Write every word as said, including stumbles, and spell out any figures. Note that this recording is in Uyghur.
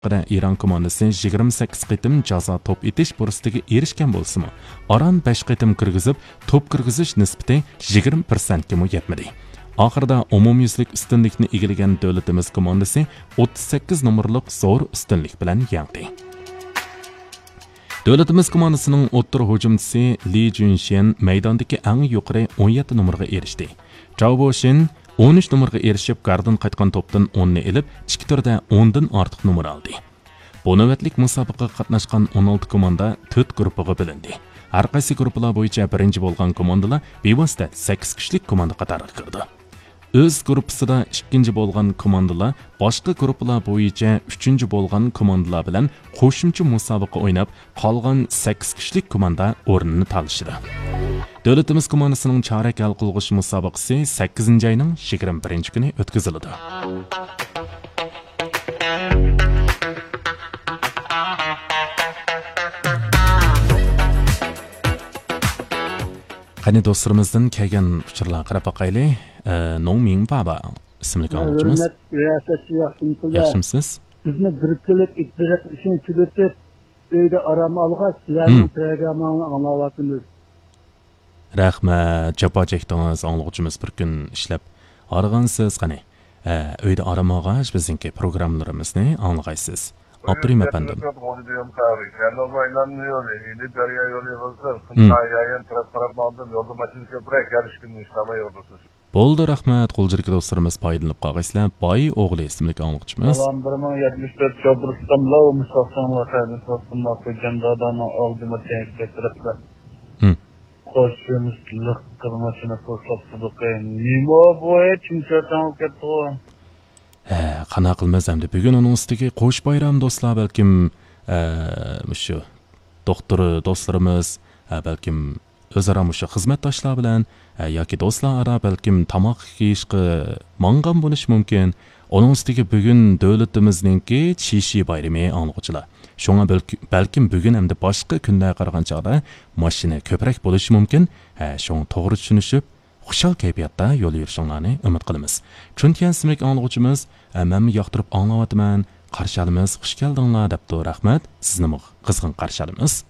ئىران كوماندىسى يىگىرمە سەككىز قېتىم جازا توپ ئېتىش پۇرسىتىگە ئېرىشكەن بولسىمۇ، ئاران بەش قېتىم كىرگۈزۈپ، توپ كىرگۈزۈش نىسبىتى يىگىرمە پىرسەنتكىمۇ يەتمىدى. ئاخىرىدا ئومۇميۈزلۈك ئۈستۈنلۈكنى ئىگىلىگەن دۆلىتىمىز كوماندىسى ئوتتۇز سەككىز نومۇرلۇق زور ئۈستۈنلۈك بىلەن يەڭدى. دۆلىتىمىز كوماندىسىنىڭ ئوتتۇرا ھۇجۇمچىسى لى جۈنشيەن مەيداندىكى ئەڭ يۇقىرى ئون يەتتە نومۇرغا ئېرىشتى. چاۋ بوشىن ئون ئۈچ نومۇرغا ئېرىشىپ، گاردىن قايتقان توپتىن ئوننى ئېلىپ، ئىككى تۈردە ئوندىن ئارتۇق نومۇر ئالدى. بۇ نۆۋەتلىك مۇسابىقىگە قاتناشقان ئون ئالتە كوماندا تۆت گۇرۇپپىغا بۆلۈندى. ھەر قايسى گۇرۇپپىلار بويىچە بىرىنچى بولغان كوماندىلار بىۋاسىتە سەككىز كۈچلۈك كوماندا قاتارىغا كىرىدۇ. ئۆز گۇرۇپپىسىدا ئىككىنچى بولغان كوماندىلار باشقا گۇرۇپپىلار بويىچە ئۈچىنچى بولغان كوماندىلار بىلەن قوشۇمچە مۇسابىقە ئويناپ، قالغان سەككىز كۈچلۈك كوماندا ئورنىنى تالىشىدۇ. دۆلىتىمىز كوماندىسىنىڭ چارەك ھەل قىلغۇچ مۇسابىقىسى سەككىزىنچى ئاينىڭ يىگىرمە بىرىنچى كۈنى ئۆتكۈزۈلىدۇ. قېنى، دوستلىرىمىزدىن كەلگەن ئۇچۇرلارغا قاراپ باقايلى. ئە، نوڭ مىڭ بابا ئىسىملىك ئاڭلىغۇچىمىز. ھۆرمەتلىك رىياسەتچى ياخشىمۇسىز؟ ياخشىمۇسىز؟ بىزنى بىر كۈنلۈك ئىجرا قىلىشنى تۈگىتىپ، ئۆيدە ئارام ئالغاچ، سىلەرنىڭ ھىم. پروگرامماڭلارنى ئاڭلاۋاتىمىز. رەھمەت، جاپا چەكتىڭىز، ئاڭلىغۇچىمىز بىر كۈن ئىشلەپ ھارغانسىز. قېنى، ئە، ئۆيدە ئارام ئالغاچ، بىزنىڭكى پروگراممىلىرىمىزنى ئاڭلىغايسىز. ئاپىرىن، ئەپەندىم. غۇلجا دۈيۈم قەھۋە، شەھەرنىڭ ئايلانما يولى، ئىلى دەريا يولى بولسا، ھىم. خىتاي يايان تەرەپ قاراپ ماڭدىم، يولدا ماشىنا كۆپرەك، يارىشىپ كۈندە ئىشلەمەي يولدا. بولدى، رەھمەت، غۇلجىدىكى دوستلىرىمىز پايدىلىنىپ قالغايسىلەر. باي ئوغلى ئىسىملىك ئاڭلىغۇچىمىز. سالام، بىر مىڭ يەتمىش تۆت شوپۇر ئۇستام، لاۋ مۇساقسان ۋەقەنى ساستىم، ماقۇل جان دادانىڭ ئالدىما تەڭكە تەرەپلەر. ھىم. قوشۇمىز لىق قىلماشىنى پۇرسەت تۇدۇقى. نېمە بۇ، ھېچ نېمە تەڭ كەتتىغۇ. ھە، قانداق قىلىمىز ئەمدى؟ بۈگۈن ئۇنىڭ ئۈستىگە قوش بايرام، دوستلار، بەلكىم، ئە، مۇشۇ دوختۇر دوستلىرىمىز، ئە، بەلكىم ئۆزئارا مۇشۇ خىزمەتداشلار بىلەن، ئە، ياكى دوستلار ئارا بەلكىم تاماق يېيىشقا ماڭغان بولۇشى مۇمكىن. ئۇنىڭ ئۈستىگە بۈگۈن دۆلىتىمىزنىڭكى چىشى بايرىمى، ئاڭلىغۇچىلار. شۇڭا بەلكى، بەلكىم بۈگۈن ئەمدى باشقا كۈنلەرگە قارىغان چاغدا ماشىنا كۆپرەك بولۇشى مۇمكىن. ھە، شۇڭا توغرا چۈشىنىشىپ، خۇشال كەيپىياتتا يول يۈرۈشۈڭلارنى ئۈمىد قىلىمىز. چۈنتيەن ئىسىملىك ئاڭلىغۇچىمىز، ئە، مەنمۇ ياقتۇرۇپ ئاڭلاۋاتىمەن. قارشى ئالىمىز، خۇش كەلدىڭلار دەپتۇ. رەھمەت، سىزنىمۇ قىزغىن قارشى ئالىمىز.